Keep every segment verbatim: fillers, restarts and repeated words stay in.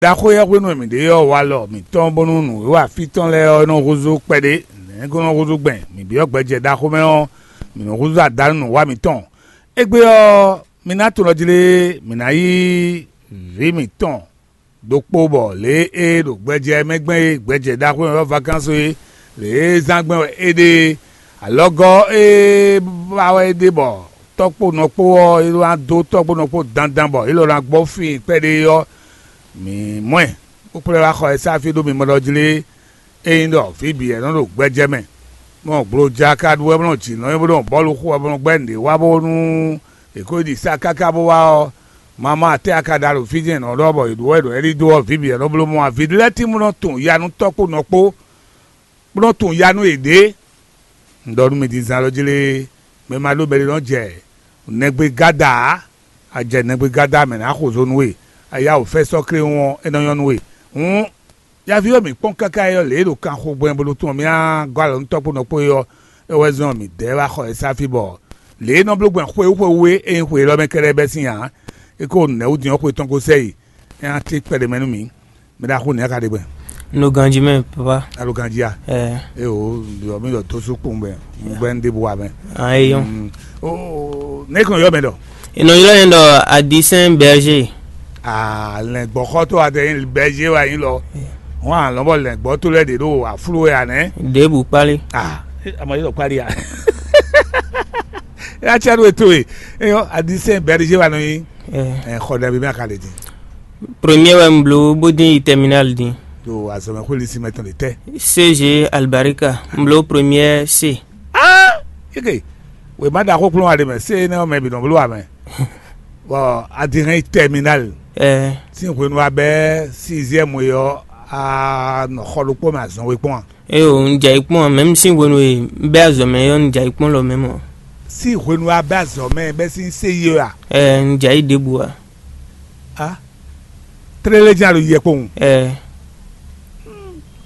Ɖaxó yɛ́ hwenu e mǐ ɖe ɔ́, walɔ mǐtɔn bónú nǔwiwa fí tɔn lɛ́ɛ ɔ́ nɔ húzú kpɛɖé. Nɛ̌ é ko nɔ húzú gbɛn? Mǐ byɔ́ gbɛjɛ ɖaxó mɛ ɔ́, mǐ nɔ húzú adǎnǔ nǔwa mǐtɔn. Égbé ɔ́, mi ná tunɔ jlé mǐ ná yí vǐ mǐtɔn ɖokpó bɔ lě e é ɖo gbɛjɛ mɛ gbɛn é, gbɛjɛ ɖaxó e ɔ́ vakansu é, lě e zán gbɛn wɛ é ɖe é. Alɔgɔ́ e ba wɛ é ɖe bɔ tɔ́ kpó nɔ kpó ɔ́, é ná dó tɔ́ kpó nɔ kpó dandan bɔ é lɔ ná gbɔ fí kpɛɖé ɔ́, mǐ mɔ ɛ, bó kplá ɛ wá xɔ ɛ sá fí ɖó mi mɔ ɖɔ jlé. Ényí ɖɔ vǐ bǐ wɛ nɔ ɖo gbɛjɛ mɛ, bɔ gbloja ka ɖu wɛ bó nɔ jǐ nɔ é bó nɔ bɔ́lu xo wɛ bó nɔ gbɛ́ nǔɖé wá bónú è ko yi ɖi sá káká bó wá ɔ́, mama atɛ́ a ka ɖa ɖo fí jɛ́n nɔ ɖɔ bɔ è ɖǒ wɛ ɖo ɛ́ ɖidó ɔ́, vǐ bǐ wɛ nɔ bló mɔ ǎ. Vǐ lɛ́ɛ tín bó nɔ tunwun ya nú tɔ́ kpó nɔ kpó, bó nɔ tunwun ya nú yěɖée. Un ɖɔ nú mi din zán lɔ jlé, mɛ ma ɖó mɛɖé nɔ jɛ nɛgbé gáda ǎ. A jɛ nɛgbé gáda mɛ nǎ xo zo nú we, a yá wǔ fɛ sɔ́ kléwún ɔ́, é nɔ nyɔ́ nú we. Hǔn, yaví ɔ́ mǐ kpɔ́n káká é ɔ́, lě e ɖo kanxo gbɛn bó ɖo tunwun mì á gɔ́ alɔ nú tɔ́ kpó nɔ kpó é ɔ́, é wɛ zɔ́n mǐdɛɛ wá xɔ ɛ sá fí bɔ lě e nɔ bló gbɛn xwe wú xwe wú é, é nyí xwe élɔ́ mɛ kɛ́ɖɛ́ bɛ́ sín ǎ. É ko nɛ̌ wú din ɔ́ xwe tɔn ko sɛ yi, é ná tlí kpɛɖé mɛ nú mǐ. Mɛ ɖaxó nɛ̌ ka ɖe gbɛn? Un ɖo ganjí mɛ, papa. A ɖo ganjí a? Ɛɛ. Eo, ɖɔ mi ɖɔ dó sú kpowun bɛ un gbɛ un ɖěbǔ wa mɛ. Ah, eyɔn. Mm. O, ne kàn yɔ mɛ ɖɔ? Ìnɔ ylɔ́ yẹn ɖɔ Adisɛn Bɛrže. Ah, lɛn gbɔxɔtɔ wa tɛ bɛrže wa yin lɔ. Wọn alɔ bɔ lɛn gbɔ to lɛ ɖe ɖo aflu ya nɛ. Ɖěbǔ kpálí. Ah, ama yi lɔ kpálí ya. Ya tsa ɖo eto e. Eyɔ Adisɛn Bɛrže wa nɔ yin. Ɛɛ. Ɛ xɔ ɖe bi mɛ a ka ɖe din. Premier wɛ un bló bó dín yi terminal din. Ɖo azɔmɛxwé lisí mɛ tɔn ɖe tɛ. C G Albarika, un bló premier C. Ah, eke. Wema ɖaxó kplɔ́n wa ɖe mɛ, se énɛ́ ɔ́ mɛ bǐ nɔ bló wa mɛ. Bɔ a din hɛn yi terminal. Ɛɛ. Sín hwenu wa bɛ sixième e ɔ́, a nɔ xɔ ɖokpó mɛ azɔn we kpɔ́n a? Eo, un jɛ yi kpɔ́n, même sín hwenu e un bɛ azɔmɛ ɔ́, un jɛ yi kpɔ́n lɔ mɛ mɔ. Sín hwenu wa bɛ azɔmɛ bɛ sín se yi ɔ́ a? Ɛɛ, un jɛ yi ɖěbǔ a? A, tlélé jɛ́n a ɖo yɛ kpowun. Ɛɛ.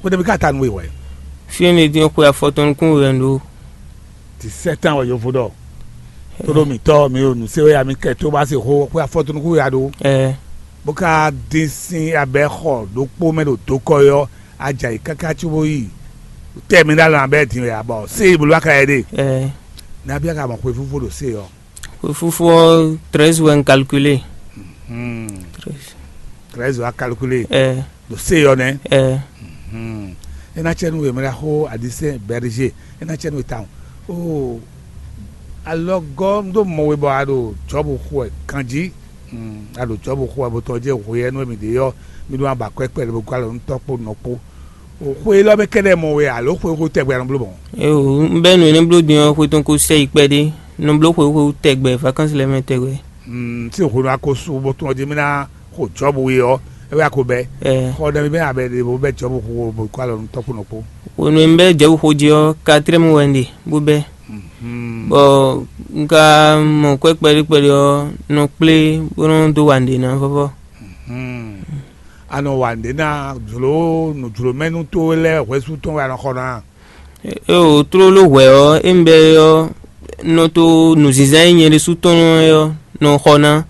Xwedɛbi ka ta nú we wɛ? Fí énɛ́ dín xwe afɔtɔn nukún we wɛ un ɖó. Ti sɛ́tán wɛ yovo ɖɔ. Tóɖó mǐtɔn mi ɖo nǔ se wɛ ya mi kɛ tó bá se xó xwe afɔtɔn nukún we ya ɖó. Ɛɛ. Bó ka dín sín abɛ xɔ ɖokpó mɛ ɖo dokɔ yɔ, a jɛ ayǐ káká cóbó yi tɛmɛ ɖó alɔ abɛ din wɛ abɔ se yi bolo aka yɛ ɖe. Ɛɛ. Nabí aka mɔ xwe fúfú ɖo se yɔ. Xwe fúfú ɔ́, treize wɛ un calculé. Hmm. Treize. Treize wa calculé. Ɛɛ. Ɖo se yɔ nɛ. Ɛɛ. Hmm. E ná tsɛ nú we mɛ ɖaxó Adisɛn Bɛrže, e ná tsɛ nú we tawun. O, alɔgɔ́ un ɖo mɔ we bɔ a ɖo Jɔbu xo wɛ kanjí. Hmm. A ɖo Jɔbu xo wɛ bó tɔ́ jɛ hwe yɛ nú mi ɖe yɔ, mi ɖo aba kpɛkpɛ ɖe bó gɔ́ alɔ nú tɔ́ kpó nɔ kpó. O, xwe élɔ́ mɛ kɛ́ɖɛ́ mɔ we alo xwe xo tɛgbɛ a nɔ bló mɔ̌? Eo, un bɛ́ nǔ énɛ́ bló din ɔ́, xwe tɔn ko sɛ yi kpɛɖé. Un nɔ bló xwe xo tɛgbɛ, vacances lɛ́ɛ mɛ tɛgbɛ. Hmm, sín hwenu a ko su bó tún ɔ́ jí mì ná xo Jɔbu we ɔ́, é wɛ a ko bɛ́. Ɛɛ. Xɔ ɖɛ mi bɛ́ abɛ ɖe bó bɛ́ Jɔbu xo bó kó alɔ nú tɔ́ kpó nɔ kpó. Hwenu e un bɛ́ Jɔbu xo jí ɔ́, quatrième wɛ un ɖe bó bɛ́. Mhm. Bɔ un ka mɔ kwɛ́ kpɛɖé kpɛɖé ɔ́, nɔ kplé bó nɔ́ dó wa nǔɖé ná vɔ́vɔ́. Mhm. A nɔ wa nǔɖé ná jlǒ nǔjlómɛnú towe lɛ́ɛ hwɛ̌su tɔn wɛ a nɔ xɔ ná? Eo, tlóló hwɛ̌ ɔ́, é un bɛ́ é ɔ́, un nɔ to nǔzínzán e nyɛ ɖésú tɔn é ɔ́ nɔ xɔ ná.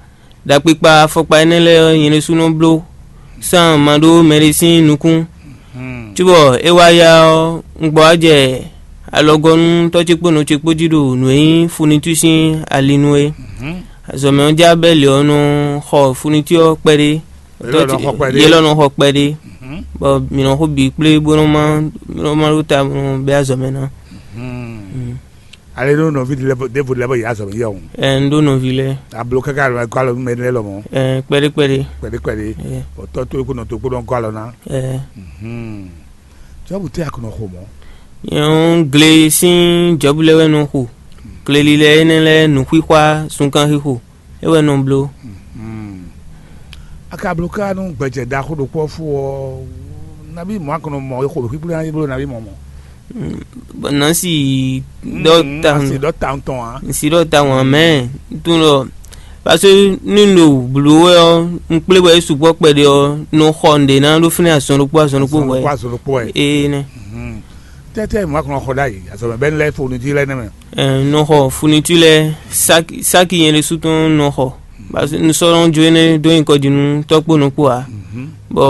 Ɖakpikpa afɔkpa énɛ́ lɛ́ɛ ɔ́, nyɛ ɖésú nɔ bló sán ma ɖó mɛɖé sín nukún. Cóbɔ é wá ya ɔ́, un gbɔ wá jɛ alɔgɔ́ nú tɔ́ ce kpó nɔ ce kpó jí ɖo nǔ e nyí funitú sín ali nu é. Azɔ̌mɛ ɔ́ já bɛ́ lě ɔ́ nɔ xɔ funitú ɔ́ kpɛɖé. Yě lɔ nɔ xɔ kpɛɖé. Yě lɔ nɔ xɔ kpɛɖé. Bɔ mǐ nɔ xo bǐ kplé bó nɔ má bó nɔ má ɖó ta bó nɔ bɛ́ azɔ̌ mɛ ná. Ale ɖó nɔví ɖěvo lɛ́ɛ bɔ yě azɔ̌ mɛ yɛ hǔn. Ɛ un ɖó nɔví lɛ́ɛ. Ablo káká alɔ gɔ́ alɔ nú mɛ lɛ́ɛ lɔmɔ̌. Ɛ kpɛɖé kpɛɖé. Kpɛɖé kpɛɖé. Ɛ. Bɔ tɔ́ towe kó nɔ to kpó nɔ gɔ́ alɔ ná. Ɛ. Jɔ́bu tɛ́ a kò nɔ xo mɔ̌. Nyɛ ɔ́, gle sín Jɔ́bu lɛ́ɛ wɛ nɔ xo. Gleli lɛ́ɛ énɛ́ lɛ́ɛ nǔxixwá zunkanxixo. É wɛ nɔ bló. A ka bló ká nú gbɛjɛ ɖaxó ɖokpó ɔ́ fú ɔ́, nabí mɔ̌ a kɔn nɔ mɔ e xo ɖo xíxlé ná bló nabí mɔ̌ mɔ̌? Bɔ nǎ si ɖɔ ta asi ɖɔ ta tɔn ǎ. N si ɖɔ ta wɔn mɛ tún ɖɔ, parce que ní un ɖo bló wɛ ɔ́, un kplé bɔ é sukpɔ́ kpɛɖé ɔ́, nɔ xɔ nǔɖé ná ɖó fínɛ́ azɔn ɖokpó azɔn ɖokpó wɛ. Azɔn ɖokpó azɔn ɖokpó wɛ. Ee nɛ. Tɛ́tɛ́ mɔ̌ a kɔn nɔ xɔ ɖ'ayǐ azɔ̌ mɛ bɛ́ ní lɛ́ fo nú jí lɛ́ɛ nɛ́ mɛ. Ɛɛ, un nɔ xɔ funitú lɛ́ɛ, sáki sáki nyɛ ɖésú tɔn un nɔ xɔ. Bɔ un sɔ́ nɔ jó énɛ́ dó nyǐkɔ jí nú tɔ́ kpó nɔ kpó ǎ. bɔ